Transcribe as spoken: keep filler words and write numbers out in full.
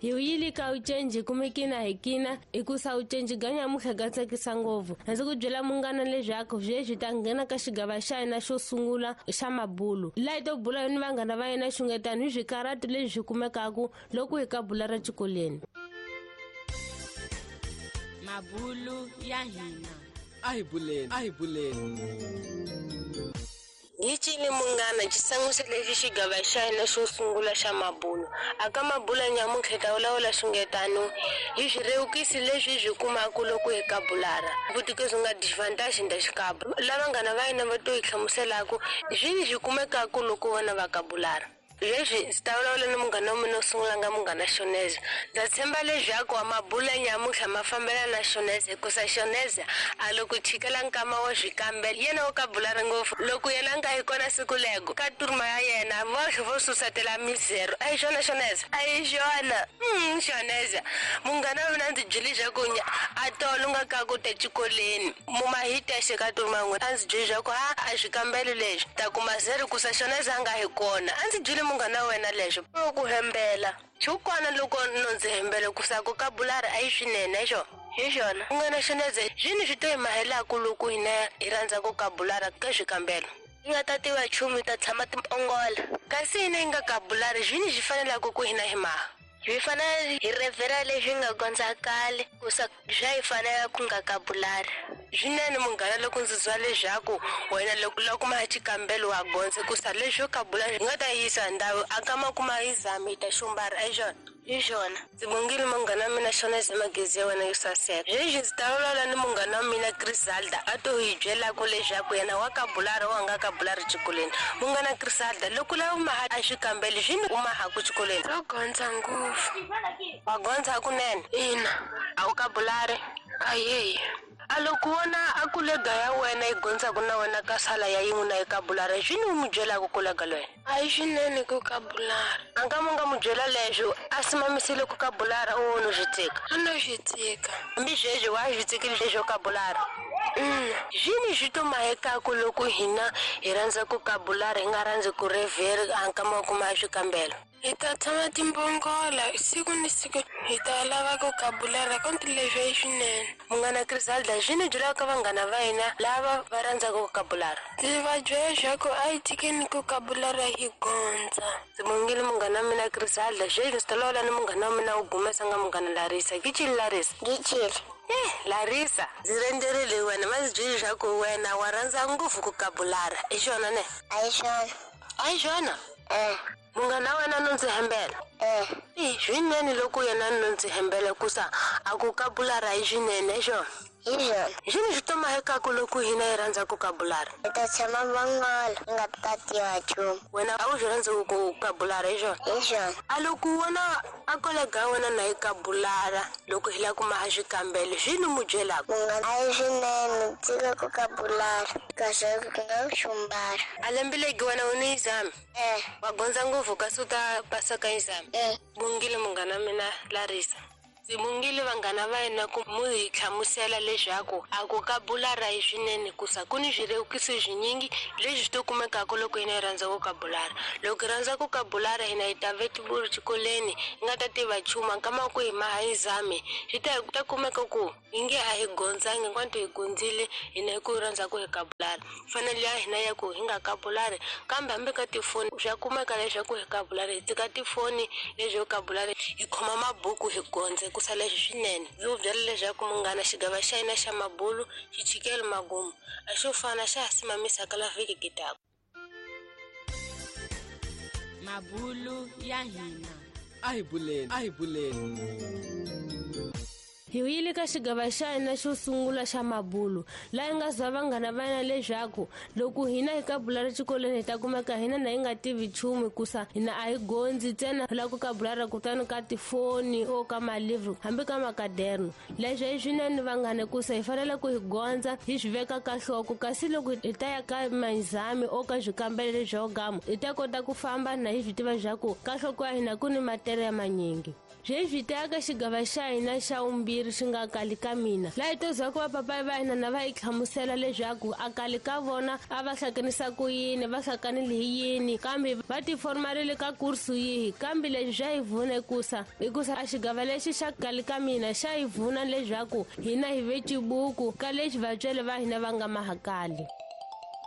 Hi yili ka ucenji kumekina hikina ikusa ucenji ganya muhle ga tsakisa ngopfu. Ndzi ku byela munghana leswaku sweswi ta nghena ka xigava xa hina xo sungula xa mabulu. Laha hi to bula ni vanghana va yena xungetano hi swikarati leswi swi kumekaku loko hi ka bula ra xikolweni. Mabulu ya hina. A hi buleni, a hi buleni. Hi cini munghana xisangusi lexi xigava xa hina xo sungula xa mabulu. Aka mabulu nyamuntlha hi ta vulavula xungetano hi swirewukisi leswi hi swi kumaka loko hi ka bulara. Vutiko nga disadvantage nda xikaba. Lava vanghana va hina va to hi hlamuselaku swini swi kumekaku loko vona va ka bulara. Leswi ndzi ta vulavula ni munghana wa mina wo sungula nga munghana Shoneza. Ndza tshemba leswaku mabulu nyamuntlha ma fambelana na Shoneza hikusa Shoneza a loko chikela nkama wa swikambelo yena wo ka bulara ngopfu. Loko yena a nga yi kona siku lego ka turma ya yena voxe vo susatela mizero. A hi xona Shoneza? A hi xona. Mm, Shoneza munghana wa mina ndzi byele leswaku a tolo nga ka ku ta xikolweni mumahitexe ka turma n'wina a ndzi byele leswaku ha a swikambelo leswi ta kuma zero kusa Shoneza a nga hi kona. A ndzi byele munghana wa wena leswo ku hembela xikwana loko no ndzi hembele kusa ku ka bulara a yi swinene xo hi xona munghana Shoneza swini swi to hi mahelaku loko hina hi rhandza ku ka bulara ka swikambelo hi nga ta tiva nchumu hi ta tshama timpongola kasi hina hi nga ka bulari swini swi fanelaka ku hina hi maha Swi fanele hi revhela leswi nga gondza kale kusa swa hi fanela ku nga ka bulara. Swinene munghana loko ndzi twa leswaku wena loko la kuma xikambelo wa gondza kusa leswo ka bula hi nga ta yisa ndhawu a ka makuma hi zami hi ta xumbara a hi xona. Hi xona. Ndzi bongile munghana wa mina Shoneza magezi ya wena yo saseka. Sweswi ndzi ta vulavula ni munghana wa mina Griselda a to hi byelaka leswaku yena wa ka bulara wa nga ka bulari xikolweni. Munghana Griselda loko lava maha a xikambelo swini u mahaku xikolweni. Ro gondza ngopfu. Wa gondza hakunene? Ina. A wu ka bulari? Ayeyi. A loko wona a kulega ya wena yi gondzaku na wena ka sala ya yin'we na yi ka bulara swini u mu byelaka kulega lwena? A hi swinene ku ka bulara. A nga mu nga mu byela leswo a simamisile ku ka bulara u no swi tshika? A no swi tshika. Hambi sweswi wa swi tshikile leswo ka bulara? Mm. Swini swi to mahekaku loko hina hi rhandza ku ka bulara hi nga rhandzi ku revheri a nkama wa kuma swikambelo? Hi ta tshama timbongola siku ni siku hi ta lava ku ka bulara konti leswi i swinene. Munghana Griselda swini byelaka vanghana va hina lava va rhandzaka ku ka bulara? Ndzi va byela leswaku a hi tshikeni ku ka bulara hi gondza. Ndzi bongile munghana wa mina Griselda sweswi ndzi ta vulavula ni munghana wa mina wo gumesa nga munghana Larisa. Kichili Larisa? Kichili. Eh, Larisa, ndzi rhendzerile wena ma ndzi byele leswaku wena wa rhandza ngopfu ku ka bulara. I xona ne? A hi xona. A hi xona? Eh. Munghana wa wena no ndzi hembela? Eh. Eh, swinene loko yena no ndzi hembela kusa a ku ka bulara hi swinene xona. Hi xona. Swini swi to mahekaku loko hina hi rhandza ku ka bulara? Hi ta tshama vongola hi nga ta tiva nchumu. Wena a wu swi rhandzi ku ka bulara hi xona? Hi xona. A loko wona a kolega ya wena na yi ka bulara loko hi lava ku maha swikambelo swini mu byelaka? Munghana a hi swinene tshika ku ka bulara kasi ku nga xumbara. A lembe legi wena u ni exam? Eh. Wa gondza ngopfu kasi u ta pasa ka exam? Eh. Bongile munghana wa mina Larisa. Ndzi bongile vanghana va hina ku mu hi hlamusela leswaku a ku ka bulara hi swinene kusa ku ni swirewukisi swinyingi leswi swi to kumekaka loko hina hi rhandza ku ka bulara. Loko hi rhandza ku ka bulara hina hi ta vetibulu xikolweni hi nga ta tiva nchumu nkama ku hi maha hi zame swi ta ta kumeka ku hi nge a hi gondzangi hinkwato hi gondzile hina hi ku rhandza ku hi ka bulara. Fanele ya hina ya ku hi nga ka bulari kambe hambi ka tifoni swa kumeka leswaku hi ka bulari hi tshika tifoni leswi ka bulari hi khoma mabuku hi gondze ku sala leswi swinene. Ndzi ku byela leswaku munghana xigava xa hina xa mabulu xi chikele magumu a xo fana xa ha simamisaka la vhiki kitaka. Mabulu ya hina. A hi buleni, a hi buleni. Hi yile ka xigava xa hina xo sungula xa mabulu laha hi nga za vanghana va hina leswaku loko hina hi ka bulara xikolweni hi ta kumeka hina na hi nga tivi nchumu hikusa hina a hi gondzi ntsena hi lava ku ka bulara kutani ka tifoni o ka malivhu hambi ka makaderno. Leswi i swinene vanghana hikusa hi fanele ku hi gondza hi swi veka ka nhloko kasi loko hi ta ya ka manzami o ka swikambelo leswo gama hi ta kota ku famba na hi swi tiva leswaku ka nhloko ya hina ku ni matere ya manyingi. Sweswi hi ta ya ka xigava xa hina xa vumbirhi xiviri xi nga kali ka mina laha hi to zwa ku va papayi va hina na va hi hlamusela leswaku a kali ka vona a va hlanganisa ku yini, va hlanganile hi yini, kambe va tiformarile ka kursu yihi. Kambe leswi swa hi vuna hikusa hikusa a xigava lexi xa kali ka mina xa hi vuna leswaku hina hi ve cibuku ka lexi vatswari va hina va nga mahakali.